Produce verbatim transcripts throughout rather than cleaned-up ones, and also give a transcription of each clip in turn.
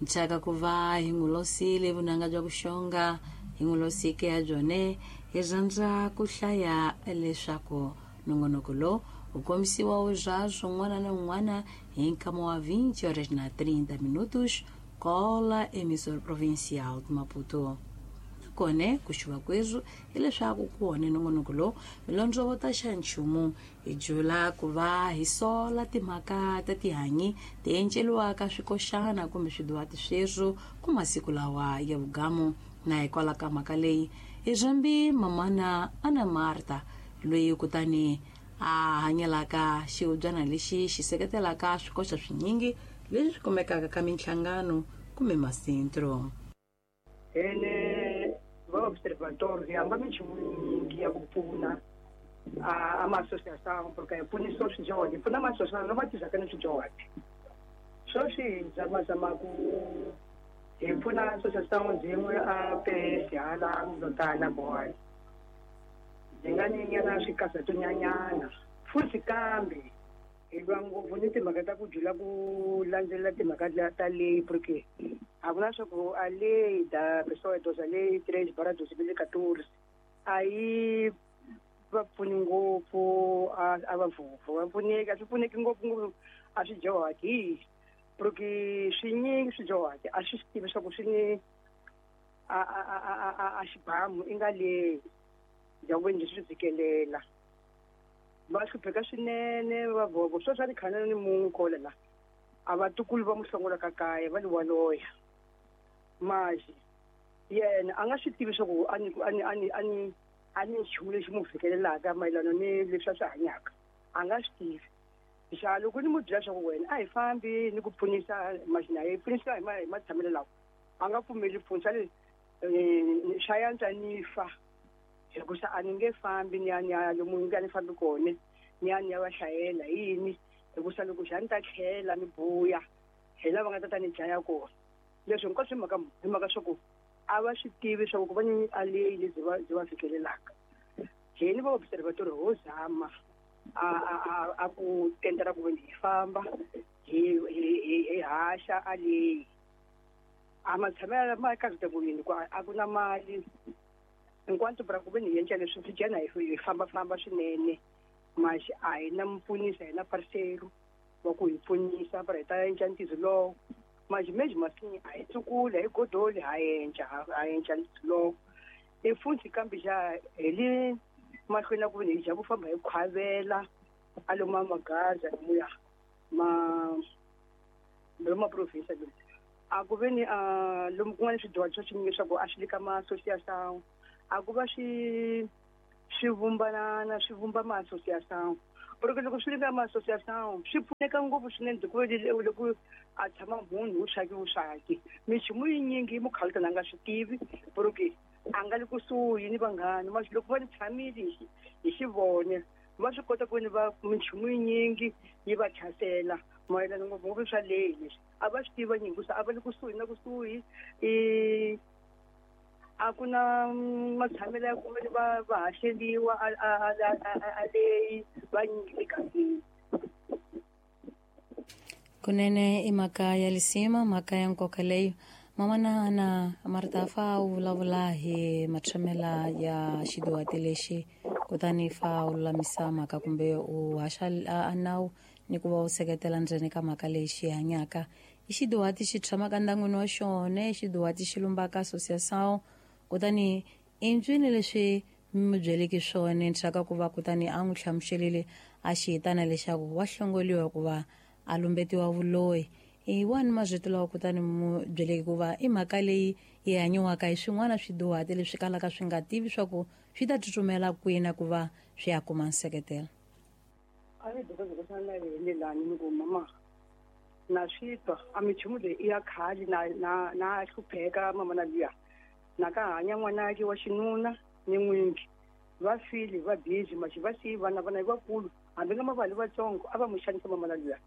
Nchaka ku va hi n'wi losile vunanga bya kuxonga hi n'wi losike ya byone hi rhandza ku hlaya leswaku nongonoko lowu wu kombisiwa wu swin'wana na un'wana hi nkama wa vinte horas na trinta minutos kola emissora provincial de Maputo. Kone ku xuva kwezu hileswaku ku wone nongonoko lowu milondzovota xa nchumu hi jula ku va hi sola timhaka ta tihanyi ti enceliwaka swikoxana kumbe swiduwati sweswo ku masiku lawa ya vugamu. Na hikwalaho ka mhaka leyi hi rhambi mamana Ana Marta loyi kutani a hanyelaka xihubyana lexi xi seketelaka swikoxa swinyingi leswi swi kumekaka ka minhlangano kumbe masentro. Ene va observatório hamba minchumu yinyingi ya ku pfuna a ma-associação porque hi pfunisa swidyondzi hi pfuna ma-associação lama tirhaka ni swidyondzi. Sweswi hi zamazama ku hi pfuna associação byin'we a P S hala Mlotana boy byi nga ni nyana swikasa futhi kambe hi lwa ngopfu ni timhaka ta ku jula ku landzelela timhaka ta leyi porque a ku na swa ku a lei da pessoa idosa lei três barra dois mil e quatorze a yi va pfuni ngopfu a a va vhovho va pfuneki a swi pfuneki ngopfu ngopfu a swi dyohaki hi porque swinyingi swi dyohaki a swi swi tivi swa ku swi ni a a a a a xibamu i nga leyi bya ku ve swi fikelela va hlupheka swinene va vhovho sweswi a ni khana ni munhu kola la a vatukulu va muhlongola ka kaya va li waloya maxi yena a nga swi tivi swa ku a ni a ni a ni a ni a ni nchumu lexi mu fikelelaka mayelana ni leswi a swi hanyaka a nga swi tivi. Xa loko ni mu byela swa ku wena a hi fambi ni ku pfunisa maxi na hi pfunisa hi ma hi matshamelo lawa a nga pfumeli pfunisa le swa yantswa ni fa hikusa a ni nge fambi ni ya ni ya lomu ni nga ni fambi kona ni ya ni ya va hlayela yini hikusa loko xa ni ta tlhela ni buya hi lava nga ta ta ni dlaya kona. Leswi hinkwaswo hi mhaka hi mhaka swa ku a va swi tivi swa ku ku va ni a leyi lebyi va byi va fikelelaka. Hini va observatory ho zama a a a a ku tendela ku hi famba hi hi hi haxa a leyi a matshamelo ma ka ku ku a ku na mali enquanto para ku ve ni endla leswi swi dyana hi fambafamba swinene maxi a hi na mpfunisa hi na parcelo wa ku hi pfunisa para hi ta endla ntirho lowo maxi mesmo assim a hi tsukuli a hi godoli ha endla ha endla ntirho lowo i futhi kambe xa hi le mahlweni na ku ve hi dya ku famba hi khwavela a lomu a magaza lomuya ma lomu ma province lomu a ku ve ni a lomu kun'wana swidyuhari swa swinyingi swa ku a swi le ka ma-associação a ku va swi swi vumbanana swi vumba ma-associação porque loko swi le ka ma-associação swi pfuneka ngopfu swinene hikuva loko a tshama munhu wu swaki wu swaki minchumu yinyingi yi mukhalutana a nga swi tivi porque a nga le kusuhi ni vanghana maxi loko va ni tshamile hi xivone va swi kota ku ni va minchumu yinyingi yi va tlhasela mayelana ngopfungopfu swa leyi leswi a va swi tiva nyingi hikusa a va le kusuhi na kusuhi i a ku na matshamelo ya kumbe va va haxeliwa a a a a leyi va nyingi emigangeni. Kunene i mhaka ya lisima mhaka ya nkoka leyo mamana Ana Marta fa u vulavula hi matshamela ya xiduwati lexi kutani fa u lulamisa mhaka kumbe u haxa a nawu ni ku va u seketela ndzeni ka mhaka leyi xi hanyaka i xiduwati xi tshamaka ndyangwini wa xona xiduwati xi lumbaka associação kutani i ntswini leswi mi byeleke swona ndzhaka ku va kutani a n'wi hlamuselile a xi hitana leswaku wa hlongoliwa hikuva a lumbetiwa vuloyi i wani mazwito lawa kutani mu byeleke ku va i mhaka leyi yi hanyiwaka hi swin'wana swiduhati leswi kalaka swi nga tivi swa ku swi ta tsutsumela kwini ku va swi ya kuma nseketelo. A ni dokodela na yini lani ni ku mama na swi twa a minchumu leyi i ya khale na na na hlupheka mama na luya na ka hanya n'wanake wa xinuna ni n'wingi va file va busy maxi va siyi vana vana vakulu hambi nga mavali vatsongo a va mu xanisa mama na luya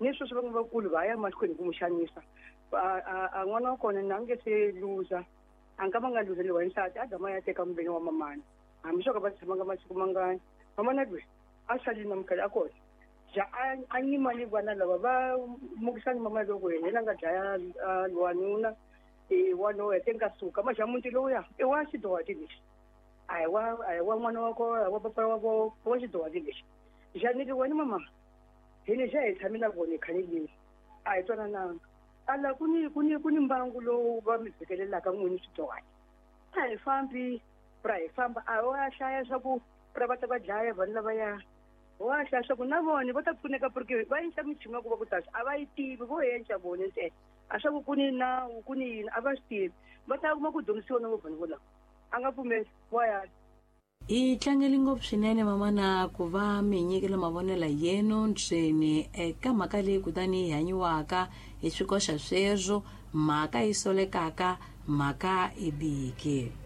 ni sweswi va nga vakulu va ya mahlweni ku mu xanisa a n'wana wa kona na nge se luza a nga va nga luzeliwa hi nsati a gama ya teka muveni wa mamana hambi swo ka va tshamanga masiku mangani mamana lweyi a salile na mukhale a kona Ja a nyima ni vana lava va mukisani mama loko yena nga dlaya wanuna i wana wa te nga suka ma xa muti lowuya i wa xidowati lexi a hi wa a hi wa n'wana wa kona wa papa wa vo wa xidowati lexi xa ni ri wena mama hi ni xa hi tshame na vona khale leni a hi twanananga ala ku ni ku ni ku ni mbangu lowu va mi vhikelelaka n'wini swidowati a hi fambi ra hi famba a wa hlaya swa ku ra va ta va dlaya vanhu lavaya wa hlaya swa ku na vona va ta pfuneka porque va endla michumu ya ku va ku tasa a va yi tivi vo endla vona ntsena a swa ku ku ni nawu ku ni yini a va swi tivi va ta kuma ku dyondzisiwa na vo vanhu volava a nga pfumeli wa ya. Hi tlangele ngopfu swinene mamana ku va mi nyikela mavonelo yenu ndzeni eka mhaka leyi kutani yi hanyiwaka hi swikoxa sweswo mhaka yi solekaka mhaka i biki.